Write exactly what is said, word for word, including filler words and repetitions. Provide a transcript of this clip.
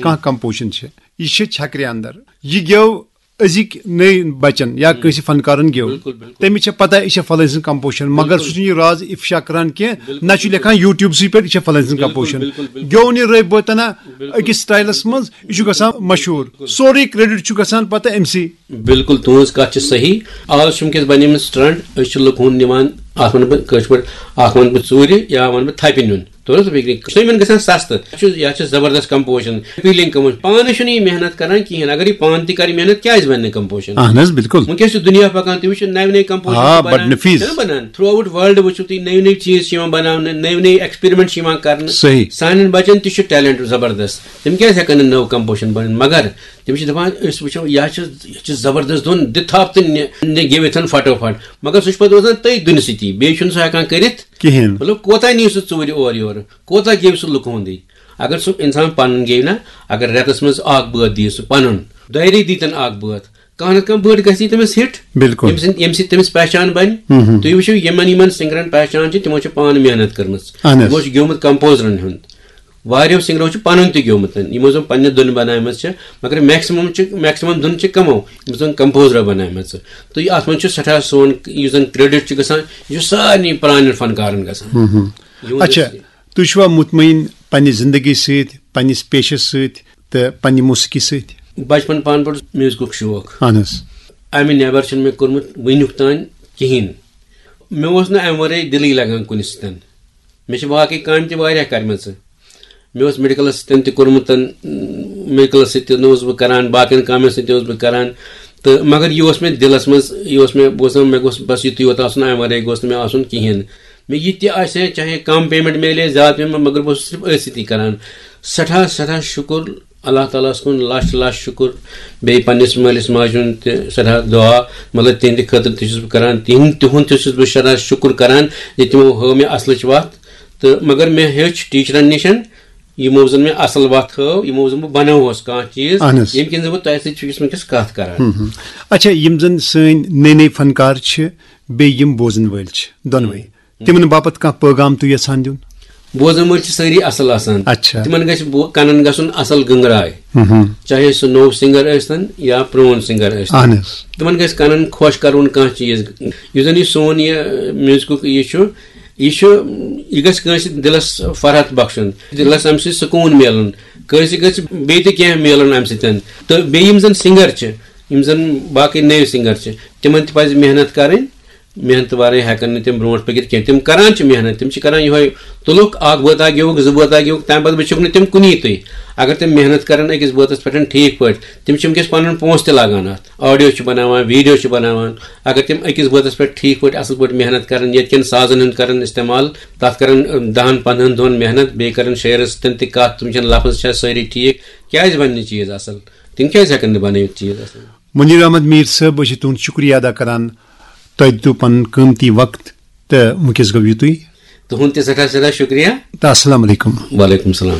کانٛہہ کمپوزیشن چھِ، یہِ چھِ چھکرِ اندر۔ یہِ گیو أزِکۍ نٔے بچن یا کٲنٛسہِ فنکارن گیو، تٔمِس چھےٚ پتہ یہِ چھےٚ فلٲنۍ سٕنٛز کمپوزیشن، مگر سُہ چھُنہٕ یہِ راز افشا کران کینٛہہ، نہ چھُ لیکھان یوٗٹیوبسٕے پٮ۪ٹھ یہِ چھےٚ فلٲنۍ سٕنٛز کمپوزیشن۔ گیو نہٕ یہِ رٲبۍ بٲتنا أکِس سٹایلس منٛز، یہِ چھُ گژھان مشہوٗر، سورُے کریڈٹ چھُ گژھان پتہٕ أمسٕے۔ بِلکُل، تُہٕنٛز کَتھ چھِ صحیح۔ آز چھِ وٕنکیٚس بَنیمٕژ ٹرٛنٛڈ، أسۍ چھِ لُکہٕ ہُنٛد نِوان، اَتھ وَنہٕ بہٕ کٲشِر پٲٹھۍ، اَکھ وَنہٕ بہٕ ژوٗرِ یا وَنہٕ بہٕ تھَپہِ نیُن۔ توٚر حظ فِکرِ؟ سُہ یِمَن گژھان سَستہٕ۔ یَتھ چھُ، یَتھ چھِ زبردست کمپوزیشن، فیٖلِنٛگ کمپوزیشن۔ پانہٕ چھُنہٕ یہِ محنت کران کِہیٖنۍ۔ اگر یہِ پانہٕ تہِ کرِ محنت، کیٛازِ بَنہِ نہٕ کمپوزیشن؟ اہن حظ، بِلکُل۔ وٕنکیٚس چھُ دُنیا پَکان، تُہۍ وٕچھِو نَوِ نَوِ کمپوزیشن آ، چھِ بَڑٕ بَنان۔ نفیٖذ۔ چھِنہٕ بَنان؟ تھرٛوٗ آوُٹ ورلڈ وٕچھِو تُہۍ، نٔوۍ نٔوۍ چیٖز چھِ یِوان بَناونہٕ، نٔوۍ نٔوۍ ایکسپیرمنٹ چھِ یِوان کرنہٕ۔ صحیح۔ سانٮ۪ن بَچَن تہِ چھُ ٹیلنٹ زبردست، تِم کیٛازِ ہٮ۪کَن نہٕ نٔو کمپوزیشن بٔنِتھ؟ مگر تِم چھِ دَپان، أسۍ وٕچھو، یہِ حظ چھِ، یہِ چھِ زبردست دھُن، دِ تھپھ تہٕ نہِ-، نہِ گیٚوِتھ پھٹو پھٹ۔ مگر سُہ چھُ پَتہٕ روزان تٔتھۍ دُنہِ سۭتی، بیٚیہِ چھُنہٕ سُہ ہٮ۪کان کٔرِتھ۔ کِہیٖنۍ۔ مطلب، کوتاہ نِیہِ سُہ ژوٗرِ اورٕ یورٕ، کوتاہ گیٚوِ سُہ لُکہٕ ہُنٛدٕے؟ اگر سُہ اِنسان پَنُن گیٚوِ نا، اگر رٮ۪تَس منٛز اَکھ بٲتھ دِیہِ سُہ پَنُن، دۄیہِ ریٚتۍ دِتَن اَکھ بٲتھ، کانٛہہ نَتہٕ کانٛہہ بٲتھ گژھِ تٔمِس ہِٹ۔ بِلکُل۔ ییٚمہِ سۭتۍ، ییٚمہِ سۭتۍ تٔمِس پہچان بَنہِ۔ ہُم، ہُم۔ تُہۍ وٕچھِو، یِمَن، یِمَن سِنٛگرَن پہچان چھِ، تِمو چھِ پانہٕ محنت کٔرمٕژ۔ اہن حظ۔ تِمو چھُ گیوٚمُت کمپوزرَن ہُنٛد۔ واریاہو سِنٛگرو چھُ پَنُن تہِ گیوٚمُت، یِمو زَن پننہِ دُنہِ بَناومٕژ چھِ، مگر میکسِمم چھِ، میکسِمم دُن چھِ کَمو، یِم زَن کمپوزرو بَناومَژٕ۔ تہٕ یہِ، اَتھ منٛز چھُ سٮ۪ٹھاہ سون، یُس زَن کریڈٹ چھُ گژھان، یہِ چھُ سارنٕے پرٛانٮ۪ن فنکارَن گژھان۔ ہُم، ہُم۔ یِہُنٛد اچھا، یُس یہِ تُہۍ چھِوا مطمئن پننہِ زندگی سۭتۍ، پننِس پیشس سۭتۍ تہٕ پننہِ موسیقی سۭتۍ؟ بچپن پانہٕ پٮ۪ٹھ میوٗزکُک شوق۔ اہن حظ۔ اَمہِ نٮ۪بر چھُنہٕ مےٚ کوٚرمُت وٕنیُک تام کِہیٖنۍ۔ مےٚ اوس نہٕ اَمہِ ورٲے دِلٕے لگان کُنہِ سۭتۍ۔ مےٚ چھِ باقٕے کامہِ تہِ واریاہ کرِمژٕ۔ مےٚ اوس میڈیکلس سۭتۍ تہِ کوٚرمُت، میڈیکلس سۭتۍ تہِ اوسُس بہٕ کران، باقین کامٮ۪ن سۭتۍ تہِ اوسُس بہٕ کران۔ تہٕ مگر یہِ اوس مےٚ دِلس منٛز، یہِ اوس مےٚ، بہٕ اوسُس دَپان، مےٚ گوٚژھ بس یِتُے یوت آسُن، اَمہِ ورٲے گوٚژھ نہٕ مےٚ آسُن کِہیٖنۍ۔ مےٚ یہِ تہِ آسہِ ہے، چاہے کم پیمنٹ میلہِ ہے، زیادٕ پیمنٹ، مگر بہٕ اوسُس صرف أتھۍ سۭتی کران۔ سٮ۪ٹھاہ، سٮ۪ٹھاہ شُکُر اللہ تعالیٰ ہَس کُن، لَچھ لَچھ شُکُر۔ بیٚیہِ پنٛنِس مٲلِس ماجہِ ہُنٛد تہِ سٮ۪ٹھاہ دُعا، مطلب، تِہِنٛدِ خٲطرٕ تہِ چھُس بہٕ کران، تِہِنٛد، تِہُنٛد تہِ چھُس بہٕ سٮ۪ٹھاہ شُکُر کران زِ تِمو ہٲو مےٚ اَصلٕچ وَتھ۔ تہٕ مگر مےٚ ہیوٚچھ ٹیٖچرَن نِش، یِمو زَن مےٚ اَصٕل وَتھ ہٲو، یِمو زَن بہٕ بَنووُس کانٛہہ چیٖز، اہن حظ۔ ییٚمہِ کِنۍ زَن بہٕ تۄہہِ سۭتۍ چھُس وٕنکیٚس کَتھ کران۔ ہُم، ہُم۔ اچھا، یِم زَن سٲنۍ نٔے نٔے فنکار چھِ، بیٚیہِ یِم بوزَن وٲلۍ چھِ، دۄنوَے، تِمن باپتھ کانٛہہ پٲغام تُہۍ یژھان دیُن؟ بوزن وٲلۍ چھِ سٲری اصل آسان۔ اچھا۔ تِمن گژھِ بو-، کنن گژھُن اصل گنگراے۔ مہم۔ چاہے سُہ نوٚو سنگر ٲسۍتن یا پرون سنگر ٲسۍتن۔ اہن حظ۔ تِمن گژھِ کنن خۄش کرُن کانٛہہ چیٖز۔ یُس زن یہِ سون یہِ میوزکُک یہِ چھُ، یہِ چھُ، یہِ گژھِ کٲنٛسہِ دِلس فرحت بخشُن، دِلس امہِ سۭتۍ سکوٗن میلُن، کٲنٛسہِ گژھِ بیٚیہِ تہِ کینٛہہ میلُن امہِ سۭتۍ۔ تہٕ بیٚیہِ یِم زن سنگر چھِ، یِم زن باقٕے نٔوۍ سنگر چھِ، تِمن تہِ پزِ محنت کرٕنۍ۔ محنت ورٲے ہٮ۪کن نہٕ تِم برونٛٹھ پٔکِتھ کینٛہہ۔ تِم کران چھِ محنت، تِم چھِ کران یِہوے، تُلُکھ اکھ بٲتھا گیوُکھ، زٕ بٲتھا گیوُکھ، تمہِ پتہٕ وٕچھُکھ نہٕ تِم کُنی تُہۍ۔ اگر تِم محنت کرن أکِس بٲتس پٮ۪ٹھ ٹھیٖک پٲٹھۍ، تِم چھِ وٕنکیٚس پنُن پونٛسہٕ تہِ لاگان اتھ، آڈیو چھِ بناوان، ویڈیو چھِ بناوان۔ اگر تِم أکِس بٲتس پٮ۪ٹھ ٹھیٖک پٲٹھۍ، اصل پٲٹھۍ محنت کرن، ییٚتہِ کٮ۪ن سازن ہُنٛد کرن استعمال، تتھ کرن، ٲم، دہن پندہن دۄہن محنت، بیٚیہِ کرن شٲعرس سۭتۍ تہِ کتھ، تِم چھِن لفظ چھا سٲری ٹھیٖک، کیٛازِ بنہِ نہٕ چیٖز اصل؟ تِم کیٛازِ ہٮ۪کن نہٕ بنٲوِتھ چیٖز اصل؟ منیر احمد میر صٲب، أسۍ چھِ تُہُنٛد شُکریہ ادا کران، تۄہہِ دیُتوٕ پنُن قۭمتی وقت تہٕ وٕنکیٚس گوٚو یِتُے۔ تُہُنٛد تہِ سٮ۪ٹھاہ سٮ۪ٹھاہ شُکریہ۔ تہٕ السلام علیکم۔ وعلیکم السلام۔